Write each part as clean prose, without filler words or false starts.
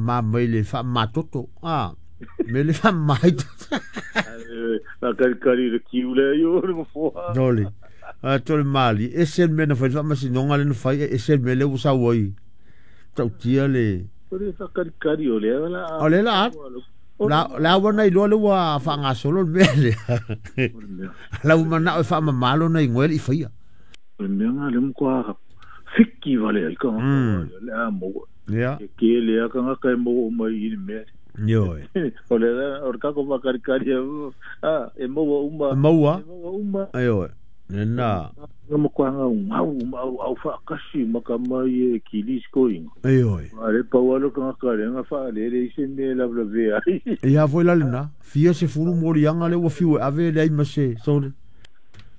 faamama mai le faamamatoto a me le faamama ai la kalikali le kiu le yo le mafoa Nole. A to le mali ese le mea na fai le faamasinoga le na fai e ese le mea lea ua sau ai tautia le o le faakalikali o lea la o le la la la ua na iloa le ua faagasolo le mea lea lau manao e faamamalo na igoa le i faia o le mea nga le mkoa fiki vale ai ka le a mo ia e ke le a ka ka mo mai i le mea ioe o le o le kako faakalikali a e maua uma maua e maua uma ioe lena nga mkoa nga ngau au au faakasi maka mai e kilis koinga ioe a le pau alo ka ka le nga fa le le se me la la ve ai ia foi la lena fia se fulu moliaga le ua fiu e ave leai ma se sole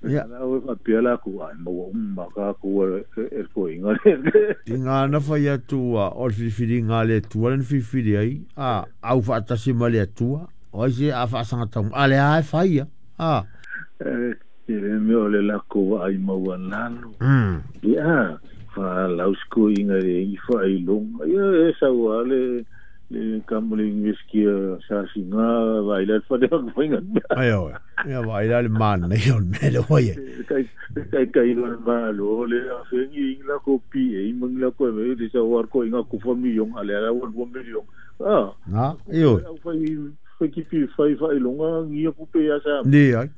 ia la o fa pia la ku ai maua uma ka ku e koinga le tiga na fai atu ua o le filifiliga a le Atua lena filifili ai a au faatasi ma le Atua o ai se a faasagatau a le a e fai ia a e le mea o le lako ai maua lalo ia fa lausko inga le i fa ilonga ia e saua le le kamole ngeskia sa singa vai la fa de ko inga ai oi ia vai la le mana o le mea le oi kai kai kai lo ma lo le a fe ngi la ko pi e mang la ko me le sa war ko inga ko fa million ale ala wa 1 million ah na e oi fa fa ki pi fa fa ilonga ngi ku pe ya sa ni ai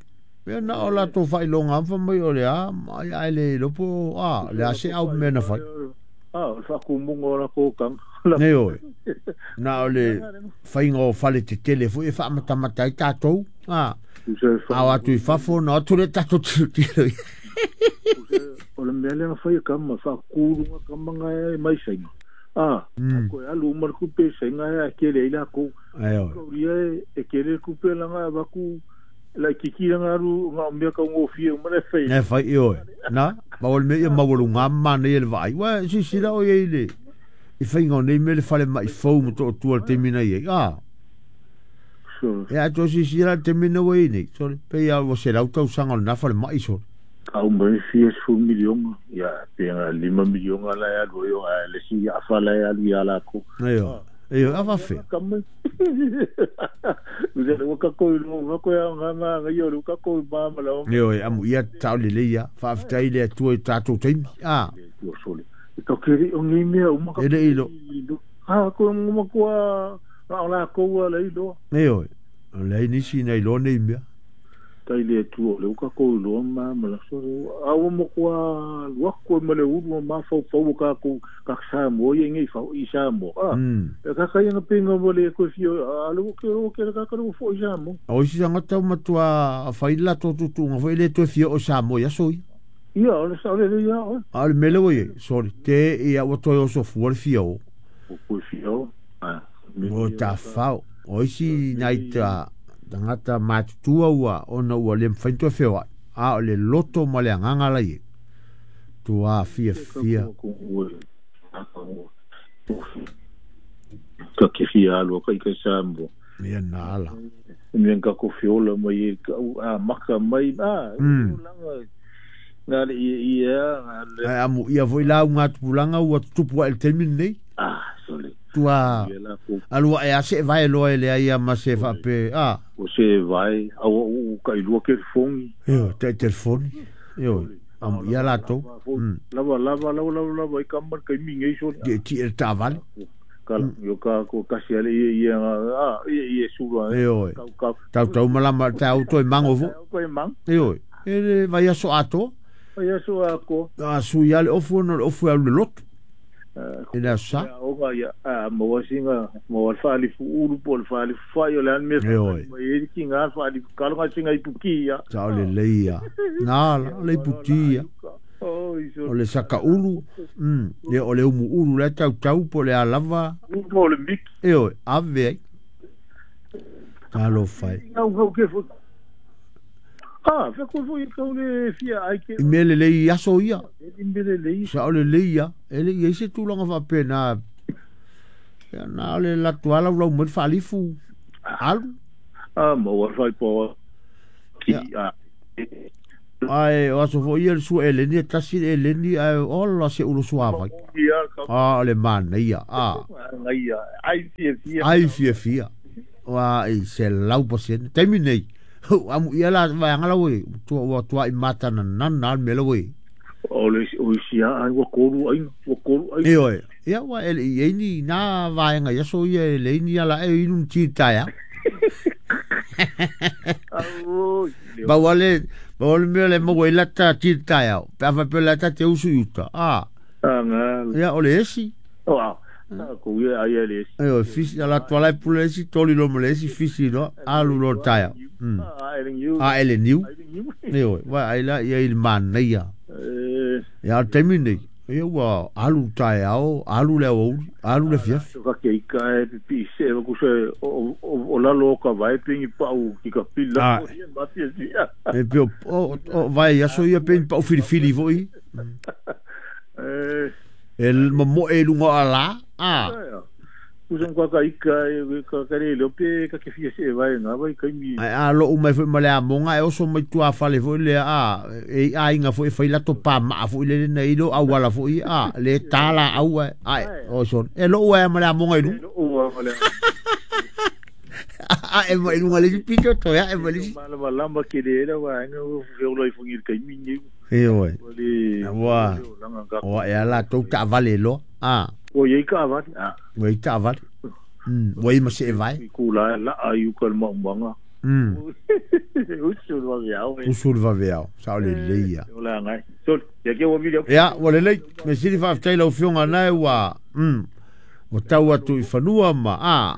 Ia na o latou faailoga fa mai o le a ai ai le lopo a le a se au mea na fai ah o fa ku mungo la ko kang nei oi na o le faiga o fale tetele foi e faamatamata ai tatou a ao atu i fafo na atu le tatou tilotilo o le mea lea na fai e kama faakulunga kama nga e mai sainga a ko e alu uma le kupe sainga e kele ai lakou ai oi kauria e kele le kupe langa avaku la kiki langa alu nga mea kaugofie uma le fai e fai i oi na ma o le mea ia maualuga mana ia le vaai ua sisila o iai le i faiga o nei mea le fale mai fou ma tootua le taimi na iai a e a to sisila le taimi na ua iai nei sole pei a ua 100 tausaga o lena fale mai sole kau mai fia sefulu miliona ia pe nga 5 miliona la e alu ai o a le si afa la e alu ia lakou ioe ioe a faafea kama Usa le waka ko ilo waka ya nga nga nga yo le waka ko ma ma la ioe amu ia tao lelei ia faafetai le Atua i tatou taimi a o sole e ka keri o ngi mea uma ka e le ilo a ko uma ko a la ko wa le ilo ioe o leai nisi na iloa nei mea tai le tu o le waka ko ilo ma ma la sole a o mo ko a lua ko ma le ulu ma fau fau ka ko ka sa mo ye ngi fau i sa mo a e ka ka nga pinga mo le ko fio a lo ke o ke ka ka fo i sa mo o isi tagata matua fai le latou tutuga foi le toe fia o Samoa i aso ia ia o le sa le ia o a o le mea le ua iai sole te ia ua toe osofua le fia o o ko fio a o tafao o isi nai ta tagata matutua ua ona ua le mafai ona toe feoai a o le loto ma le agaga la iai tua fiafia ka ke fia alu ka i ka sa mo ia na ala me ka ko fiola mai ka a maka mai a langa nga le ia nga le ai amu ia foi lauga tupulaga ua tutupu ae le taimi lenei ah sole tua alua e a se vae loa e leai ia ma se faape a o se vae au u ka ilua ke fongi ioe tai telefoni ioe amu ia latou lava lava lava lava lava i ka mar kai mingi sole ti ti e taavale ka yo ka ko kasi ale ia ia a ia ia sula ioe tautau malama tau toe mago foi toe mago ioe e le vaiaso atoa vaiaso atoa a sui a le ofu ona o le ofu e alu le lotu e le aso sa o ia a maua singa maua le faalifu ulu po o le faalifu fai o le a le mea mai e ki ngā faalifu kalonga singa ipuki ia sao lelei ia na la le ipuki ia o le sakaulu ia o le umuulu la e tautau po o le a lava po o le miki ioe ave ai talofa e ngau ke fo ah fe ko fo i kau le fia ai ke i mea lelei i aso ia i mea lelei sao lelei ia e le i ai se tulaga faapena ia na o le latou a laulau mai le faalifu alu a maua fai po ki a Ai o aso foi ia le sua eleni e tasi le eleni ai ola se ulo suavai. A o le manaia a. Ai fiafia. Ai fiafia. Wa i se lau pasene. Taimi nei. Amu ia la vaeaga lau e ua tuai mata na nana le mea lau e. O le o isi ai ua kolu ai ua kolu ai. E oe. Ia ua ele i ei ni nā vaega i aso ia e le ini ala e inu ti taea. Pau ale mea le maua i lata ti taea. Pe afa pe lata te usu i uta. A. Ia o le esi. Ko ia ai le esi. E o fisi ala tuala pule esi toli lo mo le esi fisi no alu lo taea. A ele niu. E oe wa ai la ia i manaia. Ia taimi nei. Ia ua alu taeao, alu le aoauli, alu le fiafi. Ka ke ika e pipi se ku se o lalo o ka vai pingi pau ki ka pila o ia ma fia fia. E pe o vai aso ia pe pau fili fili foi. E mo e lunga ala. A. Usan ka ka ika e ka ka le pe ka ke fia se vai nga vai kai mi. Ai a lo mai foi ma le amonga e oso mai tua fale foi le a e ai nga foi fai lato pa ma foi le nei lo awala foi a le tala au ai o son e lo ua ma le amonga ilu. Ua ma le. A e mai lunga le pito to ya e mai. Ma lamba ke le era wa nga o fe lo i fungi kai mi ni. E oi. Wa. O e ala to ta vale lo. A. O ye ka vale. A. O i ta vale. O i ma se vai. Ku la la ayu ka ma manga. Usu va veao. Usu va veao. Sa le leia. O la ngai. Sol, ya ke o video. Ya, o le lei. Me sili fa ftai lau fionga nai wa. O tau atu i fanua ma a.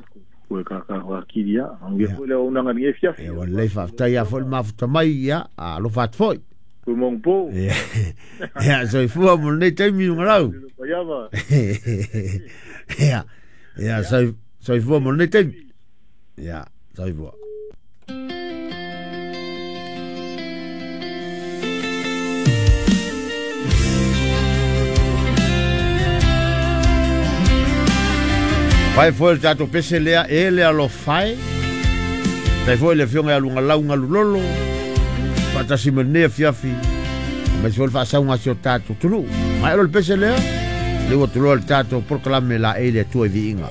Ko ka ka wa kiria. Ange fo le ona ngai fia. E o le fa ftai a fo ma futa mai ya. A lo fa foi. Ko mong po. Ya, so fua mo nei taimi ngarau. Ya. Ya, so fua mo nei taimi. Ya, so fua. Pai foi le tatou pese lea e le alofai. Tai foi le fionga ia lunga lau ngalu lolo. Faatasi ma lenei afiafi. Mai foi le faasaunga si o tatou tunu. Mai olo le pese lea. Le ua tuloa le tatou polokalame la e le Atua i viiga.